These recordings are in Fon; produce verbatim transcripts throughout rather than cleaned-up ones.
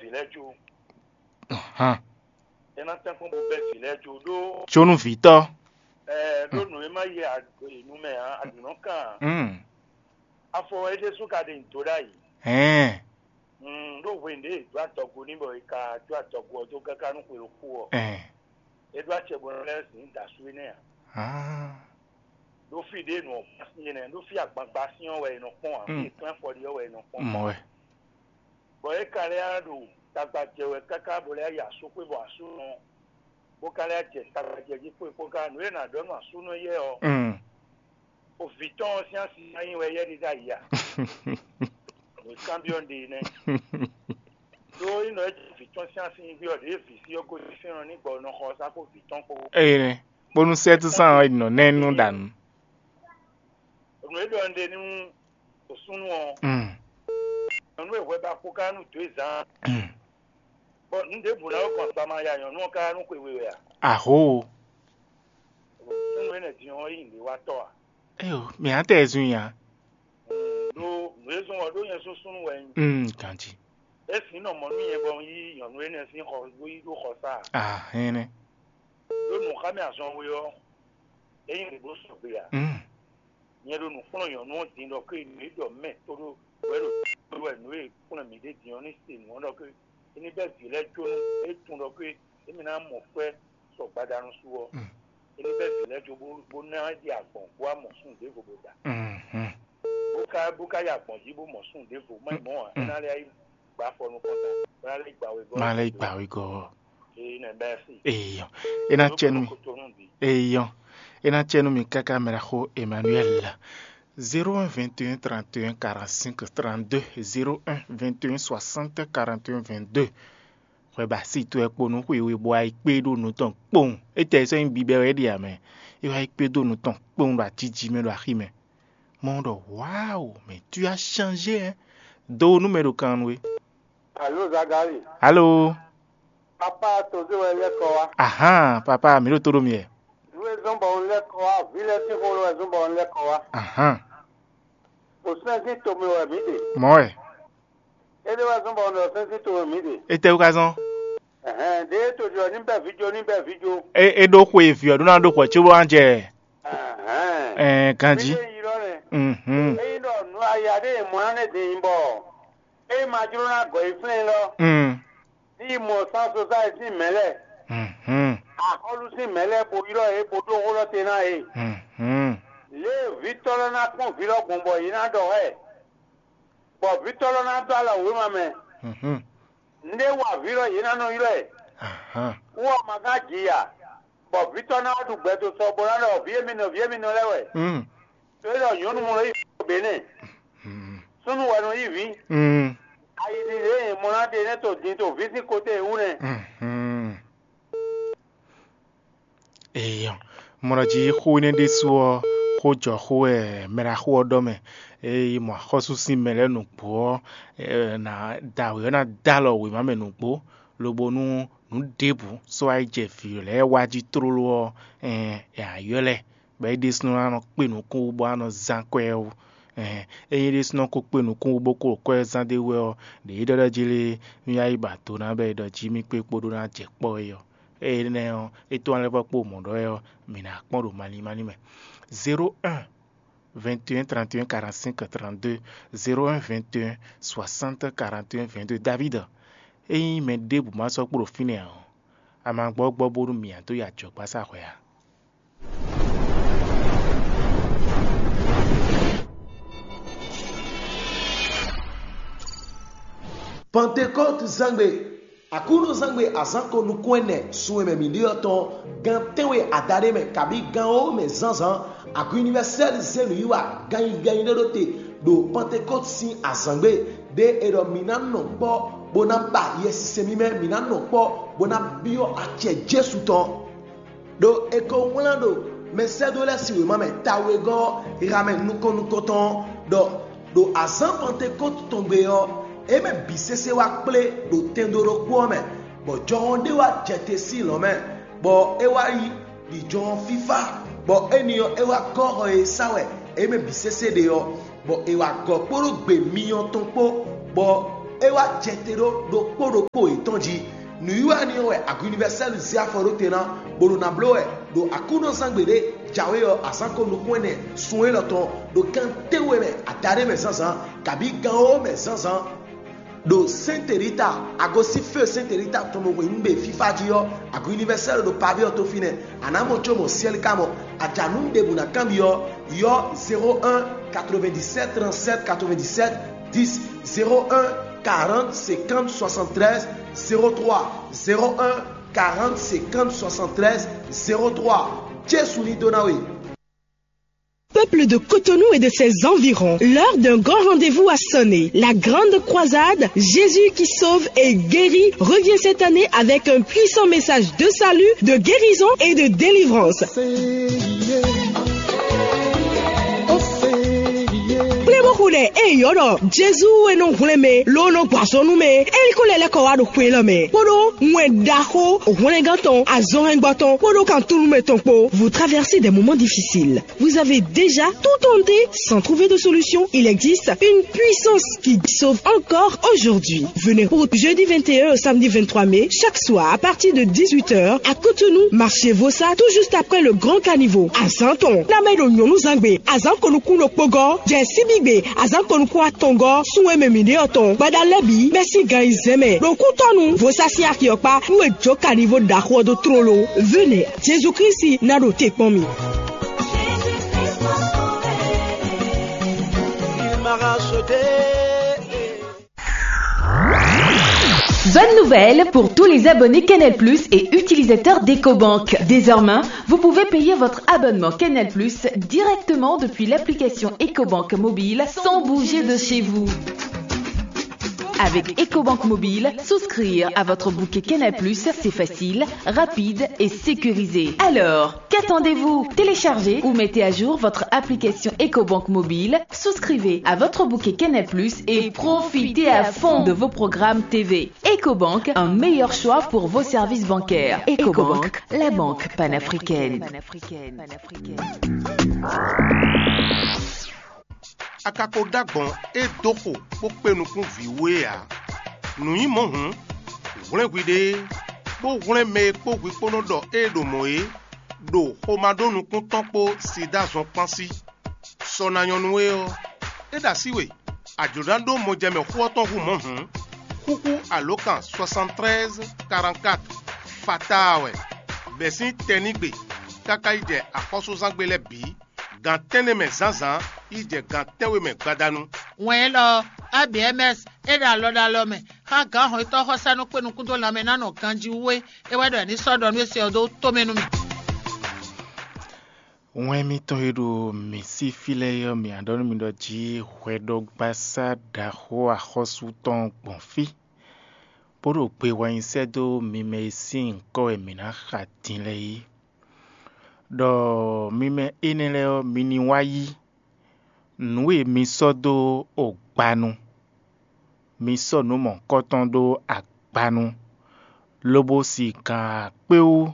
vǐ lɛ́ɛ jó. Hàn. É ná tɛ́nkpɔ́n bó bɛ́ vǐ lɛ́ɛ jó ɖó. Jónú vǐtɔ́. Ɛɛ ɖó nǔ e má yɛ ag- nu mɛ ǎ, aɖǔnɔ kan ǎ. Mm. Afɔ wɛ é ɖésú ka ɖe nǔ dó ɖ'ayǐ. Hɛn. Mm, ɖó hwenu ɖě è dó adɔgo n'i bɔ è ka dó adɔgo ɔ́ dó káká nú xwe ɖokpó ɔ́, Ɛn. É ɖó acɛ bɔ é lɛ́ zǐn da sú énɛ́ ǎ. Ah. Ɖó fí ɖě nǔ ɔ́ gbá sín é nɛ́, ɖó fí agbangba sín ɔ́ wɛ è nɔ kpɔ́n ǎ, fí Mm. è klɛ́n afɔ ɖe ɔ́ wɛ è nɔ kpɔ́n. Mɔ wɛ. Bɔ é ka lɛ́ wá ɖo tagba jɛ wɛ káká bɔ lɛ́ yi asúxwé bɔ asúnɔ bó ka lɛ́ jɛ tagba jɛ jí kpó kpó ká nǔ e è nǎ ɖɔ nú asúnɔ yɛ ɔ́, Mm. o vǐ tɔn ɔ́ sín asi ná nyí wɛ yɛ ɖíɖá yi a? Nǔ e kanbyɔ́ un ɖe nɛ́. Ɖó é nɔ é jɛ vǐ tɔn sín asi nyi gbé ɔ́, ɖěe vǐ sí ɔ́ gosín fínɛ́ ɔ́ ní gbɔ nɔ xɔ sá kpó vǐ tɔn kpó. Eye nɛ, bónú sɛ́túsán ɔ́ nɔ nɛ́ nú ɖa nǔ. Nǔ e ɖɔ un ɖe nú súnnu ɔ́, Mm. nyɔ̌nu e hwɛ ba kpó ká nú dǒ e zán, Mm. Bɔ nǔ ɖěbǔ ná wɛ gbɔn sama ya nyɔ̌nu ɔ́ ká nú xwe we wɛ a? Aho. Súnnu énɛ́ din ɔ́ yí nǔɖé wa tɔ́ a? Eyo, mǐ á tɛ zun nya. Ɖó nǔ e zɔ́n ɔ́ ɖó nyɛ súnsúnnu wɛ nyí. Mm, ganji. É sin nɔ mɔ nú nyɛ bɔ un yí nyɔ̌nu énɛ́ sín xɔ bó yí ɖó xɔsá a? Ah, hɛnɛ. Ɖó nǔxámɛ azɔn we ɔ́, é nyí nǔɖó sɔgbe a? Mm. Nyɛ ɖo nǔ kplɔ́n nyɔ̌nu ɔ́ din ɖɔ ké nǔ e ɖɔ mɛ tó ɖó wɛ ɖo tó wɛ nǔ e kplɔ́n mǐ ɖe din ɔ́ ní se nǔ ɔ́ ɖɔ ké é ní bɛ́ vǐ lɛ́ɛ jó nú é tunwun ɖɔ ké émí ná mɔ kwɛ́ sɔ gbadanu su ɔ́, Mm. é ní bɛ́ vǐ lɛ́ɛ jó bó bó ná ɖi agbɔ̌n bó wá mɔ súnnu ɖěvo bó da. Mhm. Bó ka bó ka yi agbɔ̌n jí bó mɔ súnnu ɖěvo má yi mɔ̌ ǎ, é Mm. ná lɛ́ yi gba afɔ nukɔn ta, bó ná lɛ́ yi gba wegɔ́. Má lɛ́ yi gba wegɔ́. Ee, nɛ bɛ́ sí. Eyɔ. É ná Ló cɛ nú kó mi. Kótó nú bǐ. Eyɔ. É ná cɛ nú mi káká mɛ ɖaxó Emmanuel. Zéro un vingt et un trente et un quarante-cinq trente-deux, zéro un vingt et un soixante quarante et un vingt-deux. Hwɛ ba si towe kpo nú xwe we bɔ ayi kpé ɖo nǔ tɔn kpowun. Étɛ́ sɔ́ nyí bibɛ wɛ é ɖe ǎ mɛ. É wá yi kpé dó nǔ tɔn kpowun ɖo ajíjí mɛ ɖo axi mɛ. Mɔ ɖɔ wawu, mais tu as changé, hein. Do nú mɛ ɖo kan nú we. Alo Zagali. Alo. Papa tozé wɛ lɛ́ kɔ wá. Ahan, papa, mi ɖo to ɖo mi wɛ. Nú e zɔ́n bɔ un lɛ́ kɔ wá, vǐ lɛ́ɛ sín xó lɔ wɛ zɔ́n bɔ un lɛ́ kɔ wá. Ahan. O sɛ́n sín to mɛ wɛ mǐ ɖe. Mɔ wɛ. É ɖé wɛ zɔ́n bɔ un ɖɔ sɛ́n sín to mɛ mǐ ɖe. Etɛ́wú ka zɔ́n? Ɛhɛn, ɖěe to ɖɔ ní bɛ́ vǐ jó, ní bɛ́ vǐ jó. É é ɖó xwe vǐ ɔ́ ɖó ná ɖó xwɛ cóbó wá jɛ Ɛhɛn. Ɛɛ ganjí. Mí ɖe yi lɔ nɛ. Mhm. Ényí ɖɔ nǔ aya ɖé e mɔ ná nɛ́ din nyí bɔ é ma jló ná gɔ̌ yi flɛ́n lɔ, Mm. ní yi mɔ sán sosáyi sín mɛ̌ lɛ́ɛ, Mhm. axɔ́lú sín mɛ̌ lɛ́ɛ bo ylɔ́ yě bo ɖó xó lɔ te ná yě. Mhm. Lě e vǐtɔ́ lɔ ná kpɔ́n vǐ lɔ gbɔn bɔ yě ná ɖɔ xá ɛ, bɔ vǐtɔ́ lɔ ná dó alɔ wěma mɛ. Mhm. Nǔɖé wa vǐ lɔ yě ná nɔ ylɔ́ ɛ. Ahan. Wú ɔ́ ma gán ji ǎ, bɔ vǐtɔ́ ná wá ɖu gbɛ dó sɔ bó ná ɖɔ vǐ émínɔ, vǐ émínɔ lɛ́ɛ wɛ. Mm. To e ɖɔ nyɔ̌nu mɔ lɔ yí bě nɛ. Mm. Súnnu wɛ nɔ yí vǐ. Mm. Ayi ɖi lě e mɔ ná ɖe nɛ́ to din to vǐ sín kote e wú nɛ. Mhm. Eyɔ, mɔ ɖɔ jí xó énɛ́ ɖésú ɔ́, xó jɔ xó wɛ mɛ ɖaxó ɔ́ ɖɔ mɛ. Ée mɔ axɔ́sú sín mɛ lɛ́ɛ nǔgbó ɔ́, ná da wě ɔ́ ná dó alɔ wěma mɛ nǔgbó, lobo nú nǔ ɖěbǔ sɔ́ wá yi jɛ vǐ lɛ́ɛ wá jí tlóló ɔ́, ɛ ǎ ylɔ́ ɛ, bɔ é ɖésúnɔ ná nɔ kpé nukún wú bó ná nɔ zán kwɛ́ ɔ́ wú. Ényí é ɖésúnɔ ko kpé nukún wú bó ko kwɛ́ zán d'é wú wɛ ɔ́, ɖě é ɖɔ ɖɔ jí lé, nú yá yi ba do ná bɔ é ɖɔ jí mì kpé kpódó ná jɛ kpɔ́ é ɔ́. Énɛ́ ɔ́, é tɔ́n lɛ́ vɔ́ kpó mɔ̌ ɖɔ wɛ ɔ́, mǐ ná kpɔ́n ɖo malín málín mɛ. Zéro un, vingt et un, trente et un, quarante-cinq, trente-deux, zéro un, vingt et un, soixante, quarante et un, vingt-deux. David, ényí mɛ ɖěbǔ ma sɔ́ kpo ɖo fínɛ́ ǎ ɔ́, a ma gbɔ gbɔ bónú mǐ ǎ dó yi ajɔ̌gbásá hwɛ ǎ. Pantekɔ́ti zángbe, Aklúnɔzángbe azǎn ko nukún ɛnɛ sun e mɛ mǐ ɖe ɔ́ tɔn, gan tɛ́nwe adaɖé mɛ kabí gan wǒ mɛ zǎnzǎn, Agu Univɛsɛ́li zé nǔwiwa ganyi ganyi ɖé ɖó te ɖo Pantekɔ́ti sín azǎngbe ɖě è ɖɔ mǐ ná nɔ kpɔ́ bó ná ba Yɛsinsɛn mímɛ́, mǐ ná nɔ kpɔ́ bó ná byɔ́ acɛ Jezu tɔn. Ɖó è ko wlán ɖo mɛsɛ́dó lɛ́ɛ sín wěma mɛ tawegɔ́ ɔ́ ha mɛ nukɔn nukɔntɔn ɔ́ ɖɔ ɖo azǎn Pantekɔ́ti tɔn gbe ɔ́, é mɛ bǐ sésé wá kplé ɖo tɛndo ɖokpó ɔ́ mɛ, bɔ jɔhɔn ɖé wá jɛ te sín lɔ̌ mɛ, bɔ é wá yi ɖi jɔhɔn fífá, bɔ éni ɔ́, é wá gɔ́ xɔ e sá wɛ é mɛ bǐ sésé ɖe ɔ́, bɔ è wá gɔ̌ kpódó gbe myɔ tɔn kpó, bɔ É wá jɛ te ɖó ɖokpó ɖokpó yětɔn jí. Nǔwiwa énɛ́ ɔ́ wɛ Agu Univɛsɛ́lu zé afɔ ɖó te ná, bó ɖo ná bló wɛ ɖo Aklúnɔzángbe ɖé jǎwe ɔ́, azǎn ko nukún ɛnɛ sun élɔ́ tɔn ɖo gan tɛ́nwe mɛ adaɖé mɛ zǎnzǎn, kabǐ gan wǒ mɛ zǎnzǎn. Ɖo Sɛ́nte Rita, agosífɛ́ Sɛ́nte Rita tɔn ɖo hweyǐngbe fífá jí ɔ́, Agu Univɛsɛ́lu ɖo Paví ɔ́ tó fínɛ́. A nǎ mɔ có mɔ syɛ́lí ka mɔ. A ja nǔ ɖěbǔ ná kanbyɔ́, ylɔ́ zéro un quatre-vingt-dix-sept trente-sept quatre-vingt-dix-sept dix, zéro un quarante cinquante soixante-treize zéro trois, zéro un quarante cinquante soixante-treize zéro trois. Jezu ní dó ná we. Peuple de Cotonou et de ses environs, l'heure d'un grand rendez-vous a sonné. La grande croisade, Jésus qui sauve et guérit, revient cette année avec un puissant message de salut, de guérison et de délivrance. Kplé bó xo ɖɛ eye yɔ́ ɖɔ Jezu e nɔ hwlɛ́n mɛ ló nɔ gbɔ azɔ̌ nú mɛ, é ní ko lɛ́ lɛ́ kɔ wá ɖo xwe élɔ́ mɛ, kpódó wɛn ɖaxó hwlɛngán tɔn, azɔnhɛngbɔ tɔn, kpódó kan-túnúmɛ tɔn kpó. Vous traversez des moments difficiles. Vous avez déjà tout tenté sans trouver de solution. Il existe une puissance qui sauve encore aujourd'hui. Venez pour jeudi vingt et un au samedi vingt-trois mai, chaque soir à partir de dix-huit heures à Cotonou, marché Vossa, tout juste après le grand caniveau. Azǎn tɔn, ná mɛ ɖo nyɔ̌núzangbe, azǎn konukún ɖokpógɔ́, jɛ síbígbe, azǎn konukún atɔngɔ́, sunwɛn mɛ mǐɖé ɔ́ tɔn, gbada lɛ́ɛ bǐ, bɛ́ sín gan yi zɛ́n mɛ, ɖo kútɔ́nu, Vossa sín axi ɔ́ kpá, nú è jó caniveau ɖaxó ɔ́ dó tlóló. Venez, Jezu Kristi ná ɖo te kpɔ́n mi. Bonne nouvelle pour tous les abonnés Canal Plus et utilisateurs d'EcoBank. Désormais, vous pouvez payer votre abonnement Canal Plus directement depuis l'application EcoBank mobile sans bouger de chez vous. Avec EcoBank mobile, souscrire à votre bouquet Canal Plus, c'est facile, rapide et sécurisé. Alors, qu'attendez-vous ? Téléchargez ou mettez à jour votre application EcoBank mobile, souscrivez à votre bouquet Canal Plus et profitez à fond de vos programmes T V. EcoBank, un meilleur choix pour vos services bancaires. EcoBank, la banque panafricaine. A ka ko ɖó agbɔ̌n é dó xo bó kpé nukún vǐ we ǎ. Nǔ nyí mɔ̌ hǔn, hwlɛ́n hwiɖée, bó hwlɛ́n mɛ e kpó hwi kpó nɔ ɖɔ ée ɖo mɔ̌ é, ɖo xomá ɖó nukún tɔn kpó sida zɔn kpán sí. Sɔ ná nyɔ́ nú we ɔ́, é ɖo así we, a jlǒ ná ɖó mɔjɛmɛ xó ɔ́ tɔn hú mɔ̌ hǔn, xúxú alǒkan soixante-treize quarante-quatre fataa wɛ, bɛ̌ sín tɛnígbe káká yi jɛ axɔ́súzángbe lɛ́ɛ bǐ, gan tɛ́nnɛ mɛ zǎnzǎn yi jɛ gan tɛ́nwe mɛ gbadanu. Wɛn élɔ́ ɔ́, A B M S é ɖo alɔ ɖo alɔ mɛ xá gǎn hɔn yětɔn xɔsá nú kpé nukún dó lanmɛ ná nɔ ganjí wú é. É wɛ ɖɔ è ní sɔ́ ɖɔ nú é se ɔ́ dó tó mɛ nú mì. Wɛn mitɔn e ɖo mǐ sí fí lɛ́ɛ ɔ́, mǐ ná ɖɔ nú mi ɖɔ jí hwɛɖɔgbasá ɖaxó axɔ́sú tɔn gbɔn fí, bó ɖo gbe wɛ nyi sɛ́ dó mi mɛ e sín nyǐkɔ wɛ mǐ ná xa din lɛ́ɛ é. Ɖɔ mi mɛ énɛ́ lɛ́ɛ ɔ́, mi ní wá yí nǔ e mi sɔ́ dó ogbanu. Mi sɔ́ nǔ mɔ̌hunkɔtɔn ɖó agbanu, lobo si gǎn akpé wú,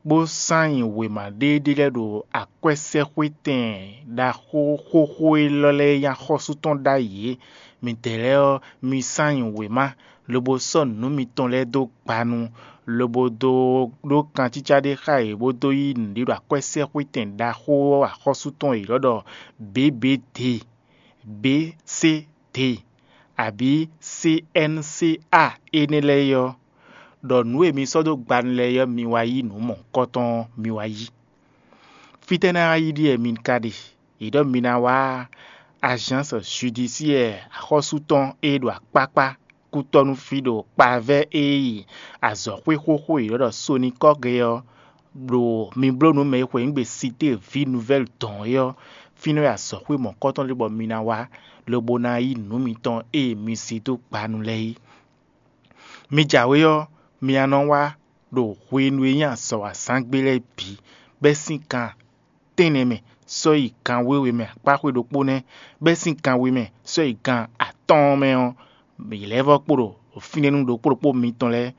bó sán nyi wěma ɖéeɖée lɛ́ɛ ɖo akwɛ́sɛ́xwétɛn ɖaxó xóxó élɔ́ lɛ́ɛ e nyí axɔ́sú tɔn ɖ'ayǐ é. Midɛɛ lɛ́ɛ ɔ́, mi sán nyi wěma, lobo sɔ́ nǔ mitɔn lɛ́ɛ dó gbanu, lobo dó ɖó kancícá ɖé xá yě, bó dó yí nǔɖé ɖo akwɛ́sɛ́xwétɛn ɖaxó axɔ́sú tɔn e è ylɔ́ ɖɔ B B D, B C D, abǐ C N C A énɛ́ lɛ́ɛ é ɔ́, ɖɔ nǔ e mi sɔ́ dó gbanu lɛ́ɛ é ɔ́, mi wá yí nǔ mɔ̌hunkɔtɔn ɔ́, mi wá yí. Fítɛ́ ná wá yí ɖíe mi ka ɖe? È ɖɔ mi ná wá Agence Judiciaire axɔ́sú tɔn e ɖo akpákpá kútɔ́nú fí ɖo kpavɛ́ e yi azɔ̌xwé xóxó e è ɖɔ ɖɔ Sonikɔ́ge ɔ́, ɖo mi bló nǔ mɛ e xweyǐgbe Cité Vie Nouvelle dɔn é ɔ́, fínɛ́ wɛ azɔ̌xwé mɔ̌kɔtɔn ɖé bɔ mi ná wá, lobo ná yí nǔ mitɔn e mi zé dó gbanu lɛ́ɛ é. Mi jǎwe ɔ́, mi ná nɔ wá ɖo hwenu e nyí azɔ̌ wa zán gbé lɛ́ɛ bǐ, bɛ́ sín kan tɛ́nnɛ mɛ sɔ́ yi gan wěwe mɛ akpáxwé ɖokpó nɛ́, bɛ́ sín gan we mɛ sɔ́ yi gan atɔ́ɔ́n mɛ ɔ́, yě lɛ́ vɔ́ kpo ɖo fínɛ́ nú ɖokpó ɖokpó mitɔn lɛ́ɛ.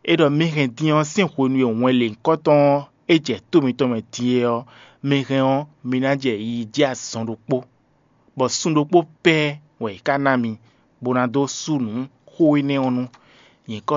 É ɖɔ mì hɛn din ɔ́ sín hwenu e wɛn lěhunkɔtɔn ɔ́ é jɛ tó mitɔn mɛ din é ɔ́, mi hɛn ɔ́, mi ná jɛ yiyi jí azɔn ɖokpó, bɔ sun ɖokpó pɛ́ wɛ è ká ná mi, bó ná dó sú nǔ xó énɛ́ ɔ́ nú nyǐkɔ